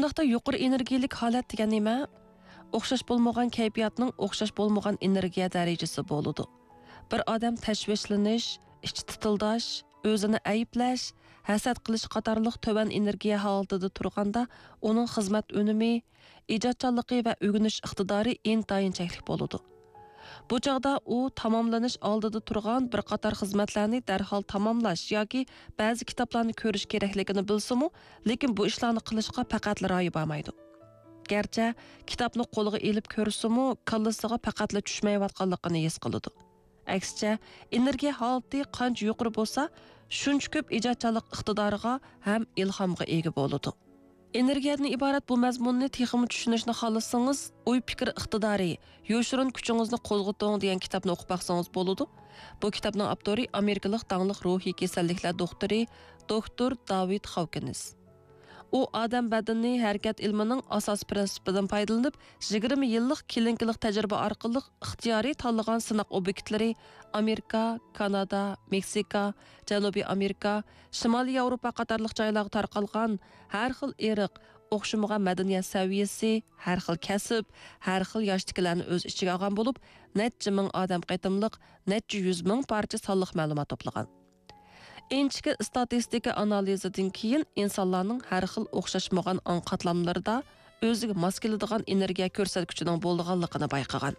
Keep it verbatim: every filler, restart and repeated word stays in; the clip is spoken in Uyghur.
بۇنداقتا يۇقىرى ئېنېرگىيەلىك ھالەت دېگەن نېمە؟ ئوخشاش بولمىغان كەيپىياتنىڭ ئوخشاش بولمىغان ئېنېرگىيە دەرىجىسى بولىدۇ. بىر ئادەم تەشۋىشلىنىش، ئىچى تىتىلداش، ئۆزىنى ئەيىبلەش، ھەسەت قىلىش قاتارلىق تۆۋەن ئېنېرگىيە ھالىتىدە تۇرغاندا، ئۇنىڭ خىزمەت ئۈنۈمى، ئىجادچانلىقى ۋە ئۆگىنىش ئىقتىدارى ئىنتايىن چەكلىك بولىدۇ. بۇ چاغدا ئۇ تاماملىنىش ئالدىدا تۇرغان بىر قاتار خىزمەتلەرنى دەرھال تاماملاش ياكى بەزى كىتابلارنى كۆرۈش كېرەكلىكىنى بىلسىمۇ، لېكىن بۇ ئىشلارنى قىلىشقا پەقەتلا رايى بارمايدۇ. گەرچە كىتابنى قولىغا ئېلىپ كۆرسىمۇ، كاللىسىغا پەقەتلا چۈشمەيۋاتقانلىقىنى ھېس قىلىدۇ. ئەكسىچە، ئېنېرگىيە ھالىتى قانچە يۇقىرى بولسا، شۇنچە كۆپ ئىجادچانلىق ئىقتىدارىغا ھەم ئىلھامغا ئىگە بولىدۇ. ئېنېرگىيەدىن ئىبارەت بۇ مەزمۇننى تېخىمۇ چۈشىنىشنى خالىسىڭىز، ئوي پىكىر ئىقتىدارى، يوشۇرۇن كۈچىڭىزنى قوزغىتىڭ دېگەن كىتابنى ئوقۇپ باقسىڭىز بولىدۇ. بۇ كىتابنىڭ ئاپتورى ئامېرىكىلىق داڭلىق روھىي كېسەللىكلەر دوختۇرى، دوكتور داۋىد خاۋكىنس. ئۇ ئادەم بەدىنى ھەرىكەت ئىلمىنىڭ ئاساسىي پىرىنسىپىدىن پايدىلىنىپ، يىگىرمە يىللىق كىلىنىكىلىق تەجرىبە ئارقىلىق ئىختىيارىي تاللىغان سىناق ئوبيېكتلىرى ئامېرىكا، كانادا، مېكسىكا، جەنۇبىي ئامېرىكا، شىمالىي ياۋروپا قاتارلىق جايلارغا تارقالغان ھەر خىل ئىرق، ئوخشىمىغان مەدەنىيەت سەۋىيەسى، ھەر خىل كەسىپ، ھەر خىل ياشتىكىلەرنى ئۆز ئىچىگە ئالغان بولۇپ، نەچچە مىڭ ئادەم قېتىملىق، نەچچە يۈز مىڭ پارچە سانلىق مەلۇمات توپلىغان. ئىنچىكە ئىستاتىستىكا ئانالىزىدىن كېيىن، ئىنسانلارنىڭ ھەر خىل ئوخشاشمىغان ئاڭ قاتلاملىرىدا ئۆزىگە ماس كېلىدىغان ئېنېرگىيە كۆرسەتكۈچىنىڭ بولىدىغانلىقىنى بايقىغان.